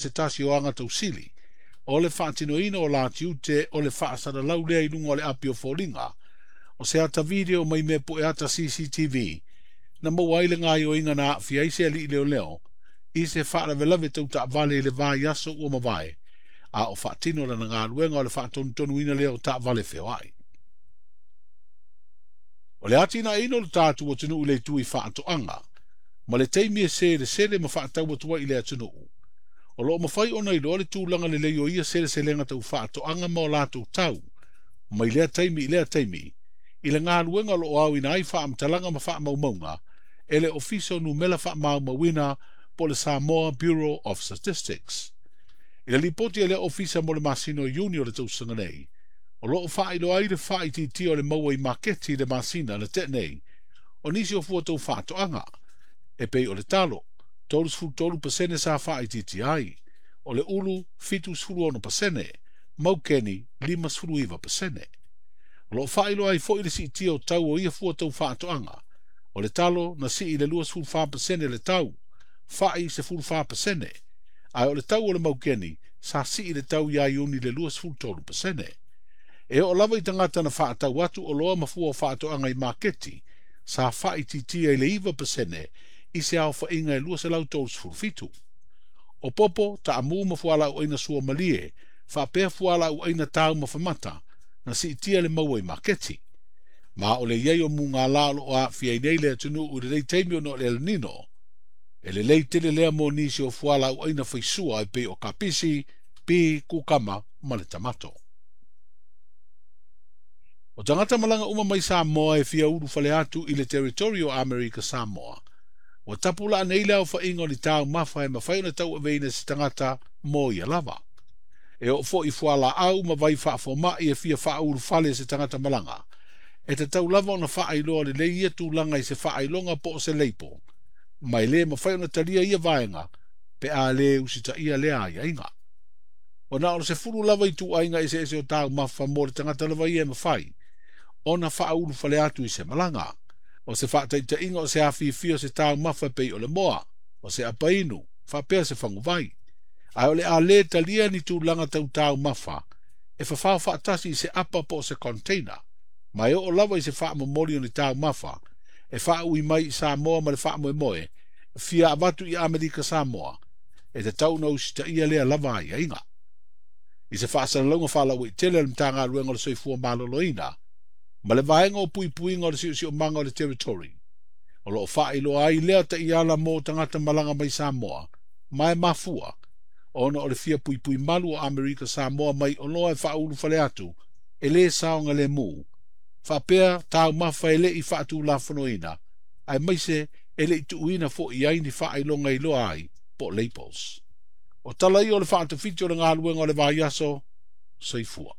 Se tasi o aga tausili o le faatinoina o la tiute o le faasalalau lea i luga o le api o foliga o se ata video mai mea poe ata CCTV na maua ai le gaoioiga na aafia ai se alii leoleo i se faalavelave tau taavale i le vaiaso ua mavae, a o faatino lana galuega o le faatonutonuina lea o taavale feoai. O le atinaeina o le tatou atunuu i le itu i faatoaga ma le taimi e selesele ma faatau atu ai i le atunuu, o lo o mafai ona iloa le tulaga lelei o ia seleselega tau faatoaga ma o latou tau mai lea taimi i lea taimi i le galuega o lo o aoina ai faamatalaga ma faamaumauga e le Ofisa o Numela Faamaumauina po o le Samoa Bureau of Statistics. I le lipoti a lea ofisa mo le masina o Iuni o le tausaga nei, o lo o faailoa ai le faaitiitia o le maua i maketi i le masina na tea nei o nisi o fua tau faatoaga, e pei o le talo, 33% sa faaitiitia ai, o le ulu, 76%, maukeni, 59%. O lo o faailoa ai foi le siitia o tau o ia fua tau faatoaga, o le talo na sii i le 24% le tau, fai 14%, ae o le tau o le maukeni sa sii le tau ia Iuni i le 23%. E oo lava i tagata na faatau atu oloa ma fua o faatoaga i maketi, sa faaitiitia i le 9% i se aofaiga e 237. O popo, taamu ma fualaauaina suamalie, faapea fualaauaina taumafa mata, na siitia le maua i maketi. Ma o le i ai o mugala o lo o aafia ai nei le atunuu i lenei taimi ona o le El Nino, e lelei tele lea mo nisi o fualaauaina faisua e pei o kapisi, pi, kukama ma le tamato. O tagata malaga uma mai Samoa e fia ulufale atu i le territory o Amerika Samoa, ua tapulaa nei le aofaiga o ni taumafa e mafai ona tauaveina e se tagata mo ia lava. E oo foi i fualaau ma vai faafomai e fia faaulufale e se tagata malaga, e tatau lava ona faailoa lelei ia tulaga i se faailoga po o se leipo, ma e le mafai ona talia ia vaega pe a le usitaia lea aiaiga. Ua na o le 10 lava ituaiga eseese o taumafa mo le tagata lava ia e mafai ona faaulufale atu i se malaga. O se faataitaiga o se afifi o se taumafa e pei o le moa, o se apainu, faapea se faguvai. Ae o le a le talia ni tulaga tau taumafa e fafao faatasi i se apa po o se container, ma e oo lava i se faamomoli o ni taumafa e faaui mai i Samoa ma le faamoemoe fia avatu i Amerika Samoa, e tatau ona usitaia lea lava aiaiga. I se faasalalauga faalauaitele a le Matagaluega o le Soifua Maloloina ma le vaega o puipuiga o le siosiomaga o le territory, o lo o faailoa ai lea taiala mo tagata malaga mai Samoa, ma e mafua ona o le fia puipui malu o Amerika Samoa mai oloa e faaulufale atu e le saogalemu, faapea taumafa e le i faatulafonoina, aemaise e le i tuuina foi ai ni faailoga iloa ai po o labels. O tala ia o le faatafiti o le galuega o le vaiaso, soifua.